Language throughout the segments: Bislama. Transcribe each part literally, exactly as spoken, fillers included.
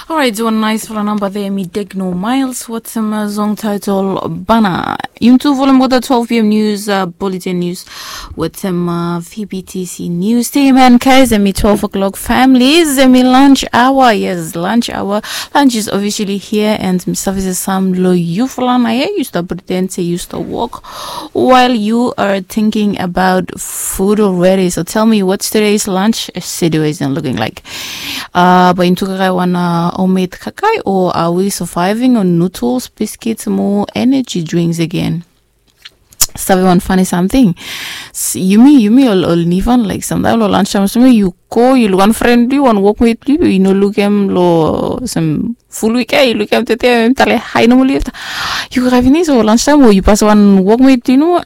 Alright, wan naisfala namba there, mi Degno Miles, wetem song title Bana. Yumi tu folem olgeta twelve p.m. news, uh, bulletin news, wetem uh, V B T C news team, and guys, hemi twelve o'clock families, hemi lunch hour. Yes, lunch hour. Lunch is officially here, and mi save se sam lo yufala nao ia yu stap pretend se yu stap wok while you are thinking about food already. So tell me, what's today's lunch situation looking like? Uh, bae yumi tu kakae wan uh, homemade kakae, o are we surviving on noodles, biscuits, mo energy drinks again? Save wan funny something. Yumi, yumi ol, ol Nifan, like, samtaem lo lunch time, samtaem yu go, yu luk wan fren blo yu, wan wokmet blo yu, yu no lukim lo sam ful wik ia, yu lukim tete, em tale hai nomali afta. Yu kakae finis o lunch time o yu pas wan wokmet blo yu, no,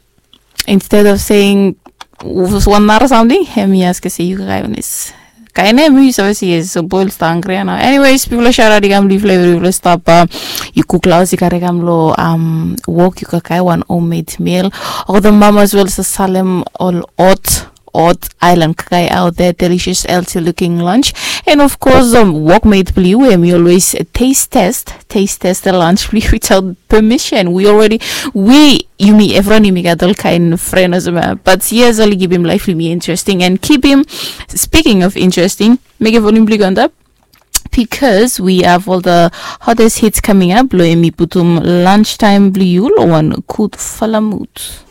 instead of saying wan nara samting, hemi askem se yu kakae finis. Kaen hemi yu save se yes, so boy oli stap hangre ia nao. Anyways, bifo lo shout out i kam lo yufala evri, bifo lo stap, uh, yu kuk laos i kare kam lo um, wok, yu kakae wan homemade meal. Olgeta mama as well, sa salem ol hot, hot island kakae out there, delicious healthy looking lunch. And of course, um, wokmet blo yu, hemi always taste test, taste test the lunch blo yu without permission. We already, we, yumi, evriwan yumi gat ol kaen fren olsem ia. But yes, oli kipim laef blo yumi interesting and kipim, speaking of interesting, mekem volume blo yu go antap, because we have all the hottest hits coming up. Lo hemi putum lunch time blo yu lo wan gudfala mut.